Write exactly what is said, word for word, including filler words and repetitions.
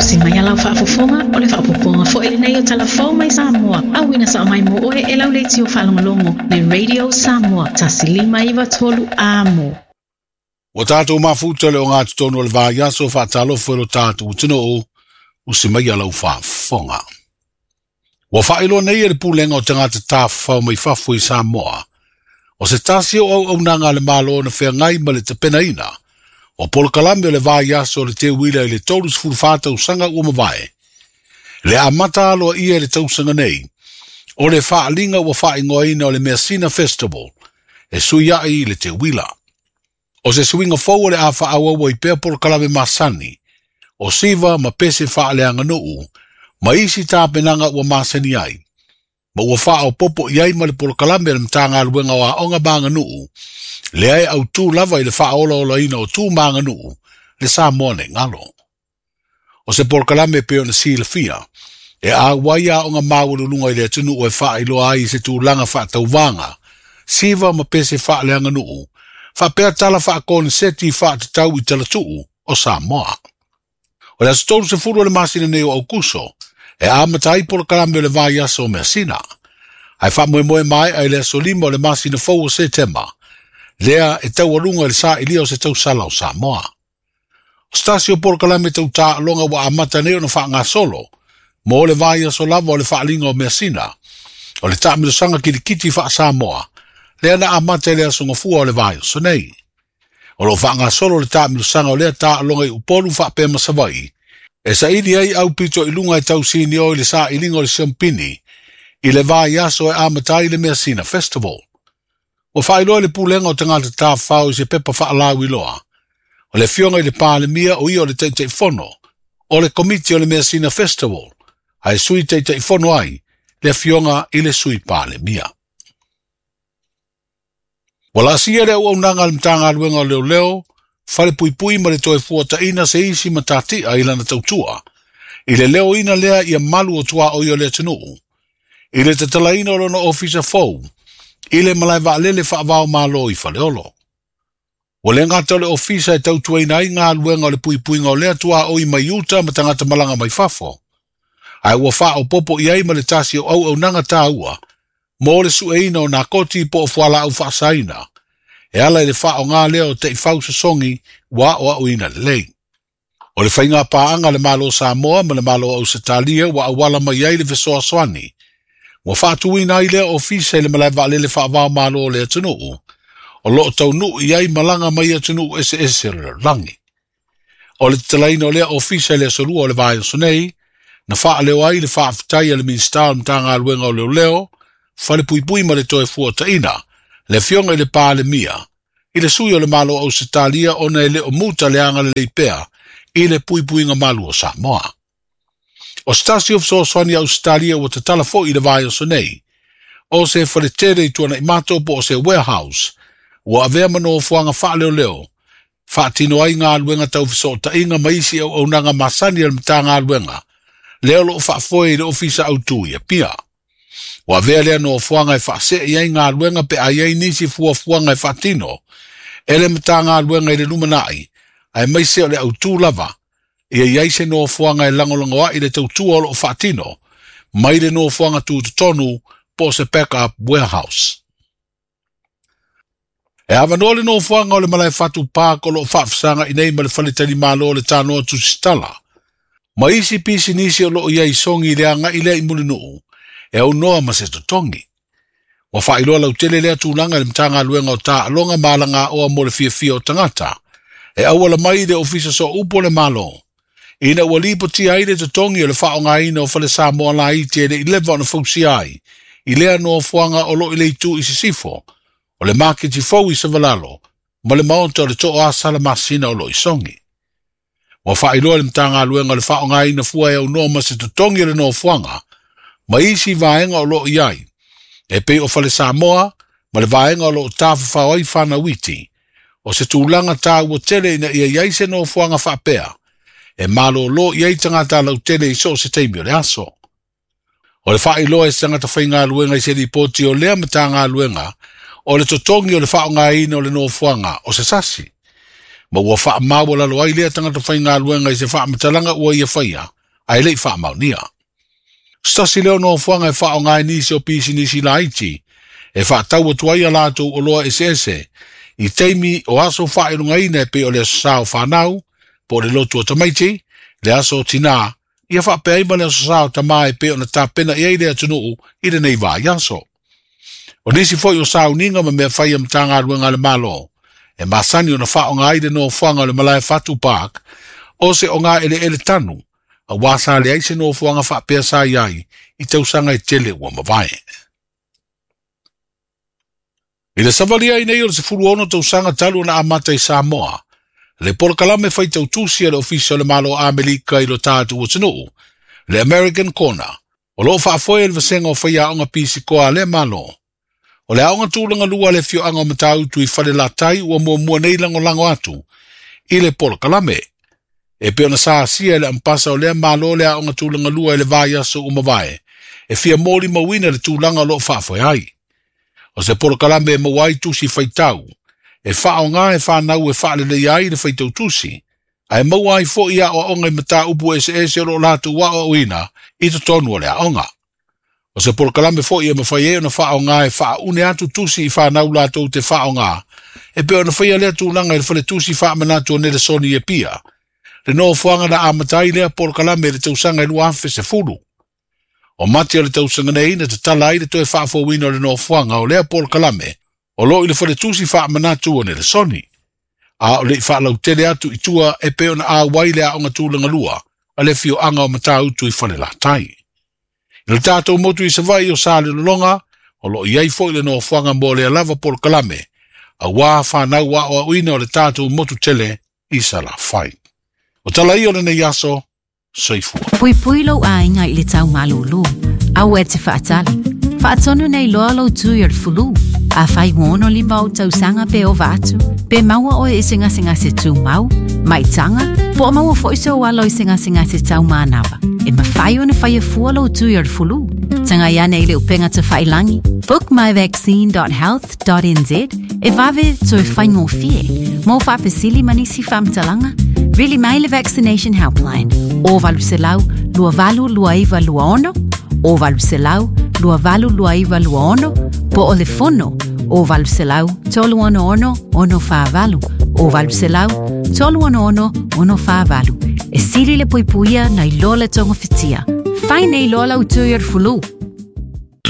Usi mai a lau faafofoga o le faaopoopoga foi lenei o Talafou mai Samoa. Auina sao mai mo oe e lau leitio faalogologo le Radio Samoa tasi lima iva tolu amo. Ua tatou mafuta le o ngā tonu o le vaiaso faatalofa i lo tatou atunuu usi mai a lau faafofoga. Ua faailoa nei e le pulega o tagata tafafao mai fafo i Samoa. O se tasi o auaunaga a le Malo na feagai ma le tapenaina o polokalame o le vaiaso o le teuila i le tolu fa tausaga ua mavae. Le amata aloa ia i le tausaga nei, o le faaliga ua faaigoaina o le Measina Festival, e sui ai i le teuila. O se suiga fou o le a faaauau ai pea polokalame masani, o siva ma pese faaleaganuu, ma isi tapenaga ua masani ai. Ma ua faaopopo i ai ma le polokalame a le Matagaluega o Aoga ma Aganuu, lea e autū lava i le faaolaolaina o tu ma aganuu, le Samoa nei galo. O se polokalame pei ona silafia, e auai aoga maualuluga i le atunuu e faailoa ai i se tulaga faatauvaga, siva ma pese faaleaganuu, faapea tala faakoneseti faatatau i talatuu o Samoa. O le aso tolu sefulu o le masina nei o Aukuso, e amata ai polokalame o le vaiaso o Measina. Ae faamoemoe maea i le aso lima o le masina fou o Setema, lea e taualuga i le sa'ilia o se tausala o Samoa. O se tasi o polokalame tau taaloga ua amata nei ona faagasolo, mo le vaiaso lava o le faaliga o Measina, o le taamilosaga kilikiti faa-Samoa, lea na amata i le aso gafua o le vaiaso nei. O loo faagasolo le taamilosaga o lea taaloga i Upolu faapea ma Savaii, e saili ai aupito i luga e tausini o i le sailiga o le siampini, i le vaiaso e amata ai le Measina Festival. Ua faailoa le pulega o tagata tafafao i se pepa faalauiloa. O le afioga i le Palemia o ia o le Taitaifono, o le komiti o le Measina Festival, ae sui Taitaifono ai le afioga i le Sui Palemia. Ua laasia le auaunaga a le Matagaluega o Leoleo, falepuipui ma le toe fuataina se isi matatia i lana tautua, i le leoina lea ia malu o tuaoi o le atunuu, i le tatalaina o lona ofisa fou, i le malae vaalele faavao malo i Faleolo. Ua le gata o le ofisa e tautuaina ai galuega o le puipuiga o lea tuaoi mai uta ma tagata malaga mai fafo, ae ua faaopopo i ai ma le tasi o auaunaga taua, mo le sueina o nakoti po o fualaau faasaina, e ala i le faaaoga lea o taifau sosogi ua aoaoina lelei. O le faiga paaga le Malo Samoa ma le Malo o Ausetalia ua auala mai ai le fesoasoani, ua faatuina ai lea ofisa i le malae vaalele faavao malo o le atunuu, o loo taunuu i ai malaga mai atunuu eseese o le lalolagi. O le tatalaina o lea ofisa i le aso lua o le vaiaso nei, na faaleo ai le faafetai a le Minisita o le Matagaluega o Leoleo, falepuipui ma le toe fuataina, le afioga i le Palemia, i le sui o le Malo o Ausetalia ona e le o muta le agalelei pea i le puipuiga malu o Samoa. O se tasi o fesoasoani a Ausetalia ua tatala foi i le vaiaso nei, o se faletele i Tuanaimato po o se warehouse, ua avea ma nofoaga faaleoleo, faatino ai galuega tau fesootaiga ma isi auaunaga masani a le Matagaluega, lea o loo faafoe i le ofisa autū i Apia. Ua avea lea nofoaga e faasee ai galuega pe a i ai nisi fuafuaga e faatino, e le Matagaluega i le lumanai, aemaise o le autū lava, ia i ai se nofoaga e lagolago ai le tautua o loo faatino, mai le nofoaga tutotonu po o se backup warehouse. E avanoa le nofoaga o le malae fatu park o loo faafesaga i nei ma le faletalimalo o le Tanoa Tusitala, ma isi pisinisi o loo i ai sogi i le agai lea i Mulinuu, e aunoa ma se totogi. Ua faailoa lautele lea tulaga i le Matagaluega o Taaloga ma Alagaoa mo le fiafia o tagata, e auala mai i le ofisa sooupu o le Malo, ina ua lipotia ai le totogi o le faaaogaina o fale Samoa laiti e le i leva ona fausia ai, i lea nofoaga o loo i le itu i sisifo, o le maketi fou i Savalalo, ma le maota o le Tooasa Masina o loo i Sogi. Ua faailoa le Matagaluega o le faaaogaina fua e aunoa ma se totogi o le nofoaga, ma isi vaega o loo i ai, e pei o fale Samoa, ma le vaega o loo tafafao ai fanauiti, o se tulaga taua tele ina ia i ai se nofoaga faapea, e malōlō i ai tagata lautele i so o se taimi o le aso. O le faailoa e se tagata faigaluega i se lipoti o lea Matagaluega, o le totogi o le faaaogaina o le nofoaga o se sasi. Ma ua faamaualalo ai lea tagata faigaluega i se faamatalaga ua ia faia, ae le'i faamaonia. Se tasi lea o nofoaga e faaaoga ai nisi o pisinisi laiti, e faatau atu ai a latou oloa eseese, i taimi o aso faailogaina e pei o le aso sa o fanau, po o le lotu o tamaiti, le aso o tinā, ia faapea ai ma le aso sa o tamā e pei ona tapena i ai le atunuu i lenei vaiaso. O nisi foi o sauniga ma mea fai a Matagaluega a le Malo, e masani ona faaaoga ai le nofoaga o le Malae Fatu Park, o se ogaeleele tanu, auā sa leai se nofoaga faapea sa i ai i tausaga e tele ua mavae. I le savalia ai nei o le sefulu ono tausaga talu ona amata i Samoa, le polokalame faitautusi a le Ofisa o le Malo Amerika i lo tatou atunuu, le American Corner, o loo faafoe e le vasega o faiaoga pisikoa a lea Malo. O le aoga tulaga lua a le afioaga o Matautu i Falelatai ua muamua nei lagolago atu i le polokalame. E pei ona sa asia e le ampasa o lea Malo le aoga tulaga lua i le vaiaso ua mavae, e fia molimauina le tulaga o loo faafoe ai. O se polokalame e maua ai tusi faitau, e faaaoga e fanau e faaleleia ai le faitautusi, ae maua ai foi aoaoga i mataupu eseese o loo latou aoaoina i totonu o le aoga. O se polokalame foi e mafai ai ona faaaoga e faaune atu tusi i fanau latou te faaaoga, e pei ona faia lea tulaga i le faletusi faamanatu o Nelesoni i Apia, le nofoaga na amata ai lea polokalame i le tausaga e lua afe sefulu. O mati o le tausaga nei na tatala ai le toe faafouina o le nofoaga o lea polokalame o loo i le faletusi faamanatu o Nelesoni, a o le'i faalautele atu i tua e pei ona auai le aoga tulaga lua a le afioaga o Matautu i Falelatai. I le tatou motu i Savaii o Salelologa, o loo i ai foi le nofoaga mo lea lava polokalame, auā fanau aoaoina o le tatou motu tele i Salafai. O tala ia o lenei aso, soifua. Puipui lou aiga i le tau malūlū. Aua e te faatali. Faatonu nei loa lou tui o le fulu. Afai ua ono lima ou tausaga pe ova atu, pe maua oe i se gasegase tumau, maitaga, po o maua foi sou alo i se gasegase taumanava. E mafai ona faia fua lou tui o le fulu. Tagai ane i le upega tafailagi, book my vaccine dot health dot n z e vave toe faigofie. Mo faafesili ma nisi faamatalaga, vili mai le Vaccination Helpline o valu selau lua valu lua iva lua ono, o valu selau lua valu lua iva lua ono, po o le fono o valu selau tolu ono ono ono whaavalu, o valu selau tolu ono ono ono whaavalu. E sili le puipuia nei loa le tonga fitia. Fai nei loa lau tui o le fulu.